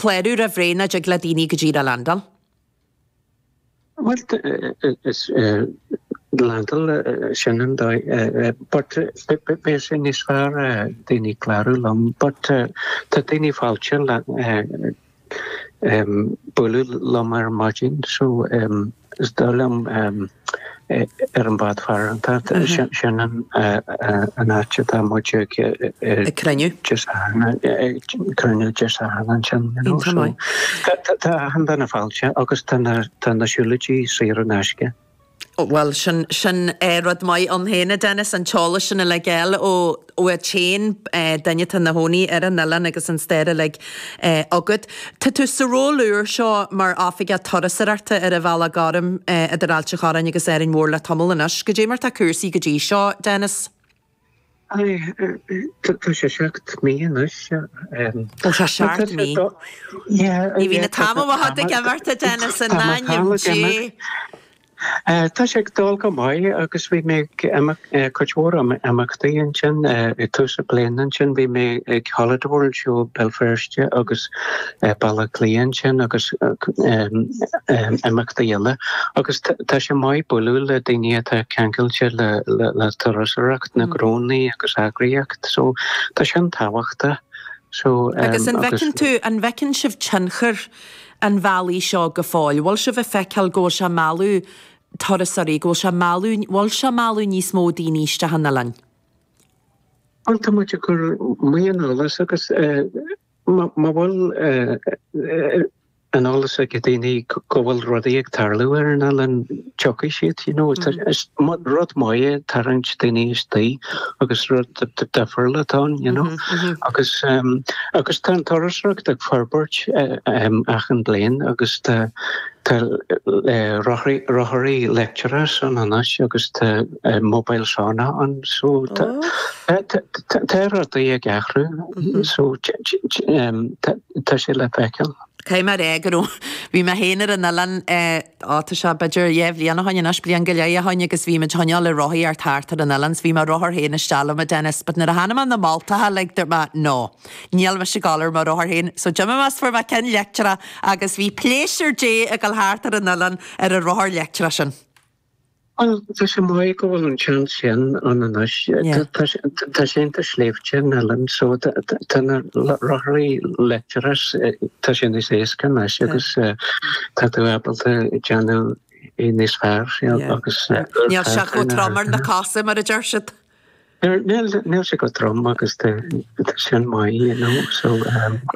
clárú roimh ré nó dtig le daoine go díreach landáil? Bhuel, is landáil sin an dóigh, but beidh sé níos fearr daoine clárú liom, but tá daoine fáilte le bualadh liom ar maidin, so is dóigh liom ar an bhád farantacht, sin an áit atá muid ag Ag cruinniú. Dé Sathairn, ag cruinniú Dé Sathairn ansin, you know, so tá achan duine fáilte agus tá na tá na siúlóidí saor in aisce. Bhuel, sin sin rud maith ann féin, a Dennis, an t-eolas sin uilig a fháil ó ó an t-aon duine atá ina chónaí ar an oileán agus an stair uilig agat. Tá tú sa ról úr seo mar Oifigeach Turasóireachta ar an Bhealach Gorm idir Ailt an Chorráin agus Árainn Mhór le tamall anois. Goidé mar tá cúrsaí go dtí seo, Dennis? Aye, tá sé 7 mí anois. Ó tá 7 mí. Ní bhíonn an t-am amach ag imeacht, a Dennis, in ainm Dé. Tá sé ag dul go maith agus bhí mé ag cuid mhór imeachtaí ansin ag tús na bliana ansin. Bhí mé ag Holiday World Show Béal Feirste agus Baile Átha Cliath ansin agus imeachtaí eile. Agus tá sé maith bualadh le daoine atá ceangailte le turasóireacht, na gnónnaí agus eagraíocht. So tá sin tábhachtach. So Agus an bhfeiceann tú, an bhfeiceann sibh tionchar an bhealaigh seo go fóill? Bhfuil sibh ag feiceáil go bhfuil sé ag mealladh turasóirí, go bhfuil sé ag mealladh, bhfuil sé ag mealladh níos mó daoine isteach an oileáin? Bhuel, tá muid ag cur maith an eolas agus má bhfuil an eolas ag daoine go bhfuil rudaí ag tarlú ar an oileán, tiocfaidh siad, you know. Is rud maith é tarraingt daoine istigh agus rud difriúil atá ann, you know. Agus agus tá an turasóireacht ag forbairt achan bliain agus tá tá rothaí leictreacha ann anois agus tá mobile sauna ann so tá tá rudaí ag athrú so tá sé le feiceáil. Caithfidh mé a rá go raibh, bhí mé féin ar an oileán, ó tá sé b'fhéidir dhéá bhliain ó shoin anois, bliain go leith ó shoin agus bhí muid choinneáil ag rothaíocht thart ar an oileán 's bhí mo rothar féin isteach liom a Dennis but nuair a chonaic mé na moltacha like dúirt mé no, níl mise ag dul ar mo rothar féin so d'imigh mé 's fuair mé ceann leictreach agus bhí pléisiúr Dé ag dul thart ar an oileán ar an rothar leictreach sin. Bhuel, tá sé maith go bhfuil an seans sin ann anois. Tá sé iontach sléibhte an oileán so tá na rothaí leictreacha, tá sé níos éasca anois agus tá tú ábalta déanamh é níos fearr agus. Níl sé chomh trom ar na cosa mar a deir siad. Níl, níl sé chomh trom agus tá sin maith, you know, so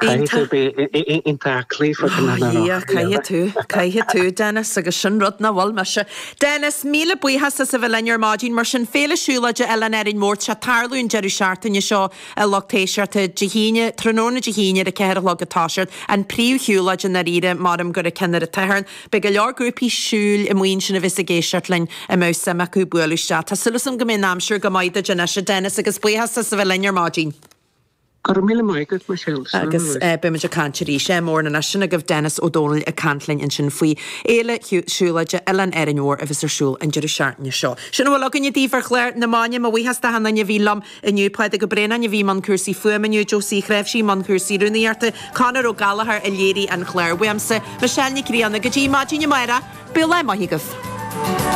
caithfidh tú bheith iontach aclaí fá choinne na Ó, caithfidh tú, caithfidh tú, Dennis, agus sin rud nach bhfuil mise. Dennis, míle buíochas as a bheith linn ar maidin, mar sin, Féile Siúlóide Oileán Árainn Mhór, tá sé ag tarlú an deireadh seachtaine seo, a lucht éisteachta, Dé hAoine, tráthnóna Dé hAoine ar a 4 a chlog ag toiseacht, an príomhshiúlóid i ndáiríre, maram gur an ceann ar an tSatharn. Beidh go leor grúpaí siúil amuigh ansin a bheas ag éisteacht linn a mbeadh suim acu bualadh isteach. Tá súil agam go mbeidh an aimsir go maith duit anois, a Dennis, agus buíochas as a bheith linn ar maidin. Go raibh míle maith agat, Michelle. Slán Agus anois. beidh muid ag caint arís. Móran anois sin agaibh Dennis Ó Dónaill ag caint linn ansin faoi Fhéile Siúlóide Oileán Árainn Mhór a bheas ar siúl an deireadh seachtaine seo. Sin a bhfuil againne daoibh ar chlár na maidine. Mo bhuíochas d'achan duine a bhí liom Inniu, Pádraig Ó Braonáin a bhí i mbun cúrsaí fuaime inniu, Josie Uí Chnáimhsí i mbun cúrsaí rúnaíochta, Conor Ó Gallchóir a léirigh an clár. Uaimse, Michelle Nic Grianna, go dtí maidin amárach, bíodh lá maith agaibh.